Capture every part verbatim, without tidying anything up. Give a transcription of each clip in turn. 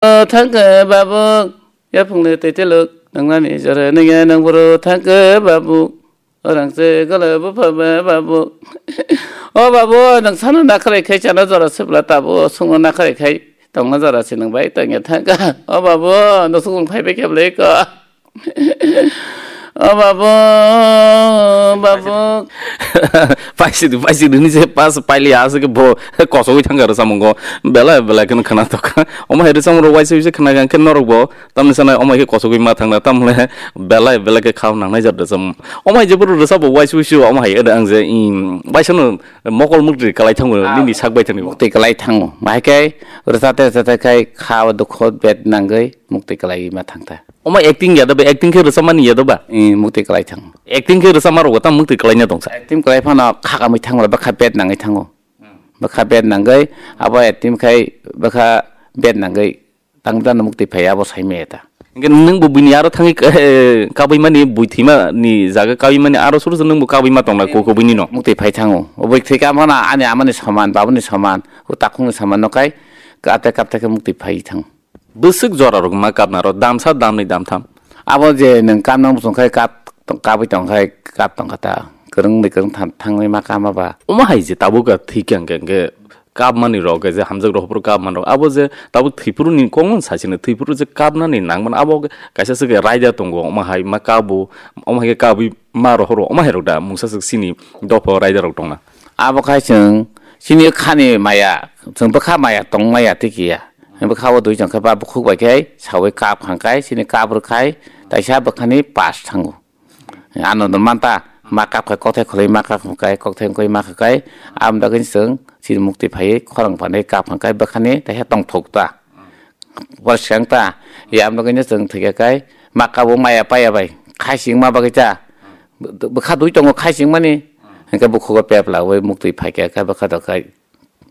Thangkhe babu, yaphungni twi teluk, nangnani jora nangya nang boro thangkhe babu. Orang se gala bupha ba babu. O babu, nang sana nakharai khai chana jora sibla tabu, sungno nakharai khai tongna jora se nang bai tongya thangkha. O babu, no sung phai bai kebla iko. O babu, babu. Paisi du, paisi du ni se pas paili ase ke bo kosogwi thangkha rwsamungo. Belai belai kheno khana tokha. Omo hai rwsamung rok waisa waisa khana khe norok bo. Tamni sanai omo hai khe kosogwi ma thangna, tamle belai belai khe khao nangnai jat rwsam. Omo hai jeboro rwsabo waisa waisa omo hai ede ang je, im, waisa no mokol mukti kalai thango, ah, nini sak bai thangni bo. Mukti kalai thango. Bahai khe rwsate rwsate khai khao dukho bed nangwi mukti kalai ma thangta. Omo acting ya da ba, acting khe rwsam mani ya da ba? Im, mukti kalai thango. Acting khe rwsam ma rogo tam mukti kalai na tongsa. Acting kalai phano khakamwi thango, bwkha bed nangwi thango. Bwkha bed nangwi, abo acting khai bwkha bed nangwi. Tang dan mukti phai abo sai me ta. Hingke nung bo bini aro thangwi, eh, kabui mani bui thima ni jaga kabui mani aro suru suru nung bo kabui ma tongna ko ko bini no. Mukti phai thango. Oboi thwi ka mana ani amani soman, babuni soman, o takhungni soman no kai kapte kapte khe mukti phai thang. Bwswk jora rok ma kapna ro damsa damni damtham. Abo je nung kam nang bosong khai kap kabui tong khai kap tong kha ta. Kwrwng ni kwrwng thang thangwi ma kama ba. Omo hai je tabuk thwi kang kang khe. Kapmani rok, je hamjak rok, hopor kapman rok, abo je tabuk Thwipuru ni kok no sachino, Thwipuru je kapnani nangmani, abo kaisa se raida tongo, omo hai ma kabu, omo hai khe kabui ma rohoro, omo hai rok da, mungsa swk chini dopha raida rok tongna. Abo khai chwng chini khani maya, chwng bwkha maya tong maya twi kiya, bwkha o dui chong khe ba bukhuk bai khe saui kap hang kai, chini kap rw khai, taisa bwkhani pass thango. Ano don manta, ma kap khai kokthai khwlai ma kap khai kokthai wngkoi ma kha kai, am dagwi chwng chini mukti phaiwi khorang phanwi kap khai bwkhani taisa tongthok ta. Bwswk ta, ya am dagwi chwng thwikha kai ma kabo maya paya bai khaising ma bagwi cha. Bwkha dui tongo khaising mani, hwnkhe bukhugo pep lawi mukti phaikha kai bwkha dokhai.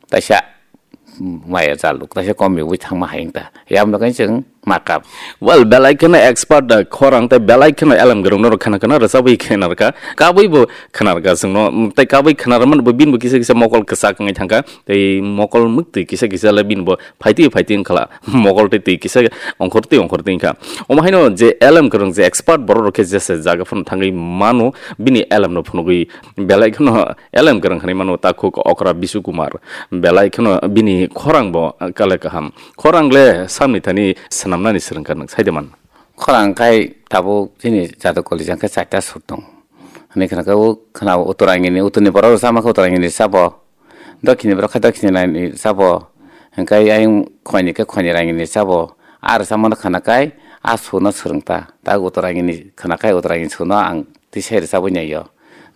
Taisa maya jaluk, taisa komi wi thangma hai wngta. Yamno kaisa chwng ma kap. Well, belai kheno expert da khorang tei belai kheno elem kwrwng norok khana khana rwchabwi khenarkha. Kabwi bo khenarkha chwngno, tei kabwi khenarmani bo bini bo kisa kisa mokol kwchak wngwi thangkha. Tei mokol mwktwi kisa kisa le bini bo phaitwi phaitwi wngkhala. Mokol tei twi kisa ongkhortwi ongkhortwi wngkha. Omo haino je elem kwrwng je expert borok rok khe jesa jaga phano thangwi mano, bini elemno phunugwi belai kheno elem kwrwng hinwi mano takhuk okra Bisu Kumar. Belai kheno bini khorang bo kale kaham. Khorang le samni thani swnamnani swrwngkha nwng saide man. Khorang khai tabuk chini jatwi koli jang khe chaita sur tong. Hwnwi khna khe o khna o Uttarangini, uttorni borok rwchapma khe Uttarangini rwchabo. Dokhini borok khe dokhini laini rwchabo. Hwnkhe ayang khoini khe khoini rangini rwchabo. A rwchapmano khna khai a surno swrwngta. Ta Uttarangini khna khai Uttarangini surno ang tisa rwchabwi naio.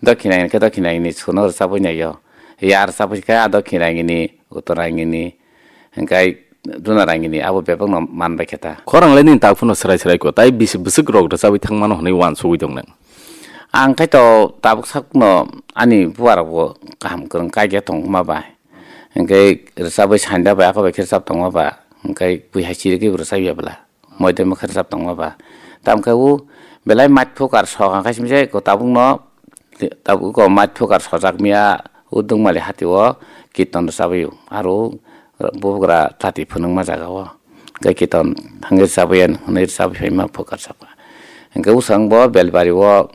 Dokhina hwnkhe dokhina hwnwi suno rwchabwi naio. Ya rwchabwi khe a dokhina hwnwi, uttora hwnwi, hwnkhe duna rangini abo bebakno man bai khe ta. Khorang le nini tak phano swrai swrai ko, tai bisi bwswk rok rwchabwi thangmano hwnwi uansugwi tong nang. Ang khai to tabuk sakno ani buarokbo kaham kwrwng kaikhe tongma bai. Hwnkhe rwchabwi sanda bai ako bai khe rwchap tongma ba. Hwnkhe bui hai chirigwi rwchap ya bwla. Moidai mokhe rwchap tongma ba. Tamkhe o belai mait phukar sok hangkhe simi se ko tabukno, tabuk ko mait phukar sojak miya o Dungmali hati o kirton rwchabwi o. Aro bubagra tati phunukma jaga o. Hwnkhe kirton thangwi rwchabwi ya hwnwi rwchabwi phaima phukar saka. Hwnkhe usang bo Belbari o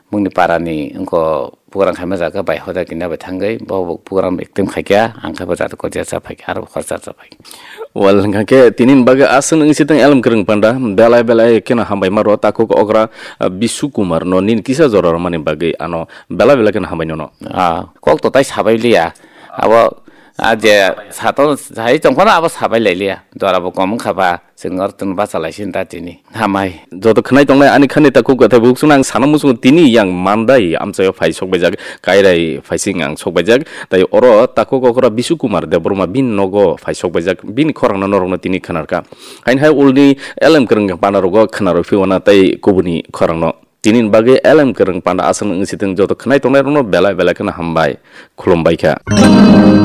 Bongni parani wngkho program khaima jaga bai hoda kina bai thangwi bo program acting khaikha, ang khe bo jat ko jat cha phaikha, aro khorcha cha phaikha. Wal hwnkha khe tini bagwi aswk wng sitwng elem kwrwng panda belai belai kheno hambai ma rw takhuk okra, ah, Bisu Kumar no nini kisa jora rwmani bagwi ano belai belai kheno hambai nono. Ah, kok to tai sabai liya. Abo, ah, je sato sai tongphano abo sabai lai liya. Jora bo kom wngkha ba. Chwng oro tong bachalaisini da tini. Hamai. Joto khwnai tongnai ani khani takhuk kwthai bukhukno ang sana muchungo tini yang mandai amchaio phai sokbaijak, Kairai phaising ang sokbaijak. Tai oro takhuk okra Bisu Kumar Debbarma bini nogo phai sokbaijak, bini khorangno norokno tini khwnarkha. Haini hai ulni elem kwrwng panarogo khwnarwi phiwana tai kubuni khorangno. Tini bagwi elem kwrwng panda aswk wng sitwng joto khwnai tongnai rokno belai belai kheno hambai khulumbai kha.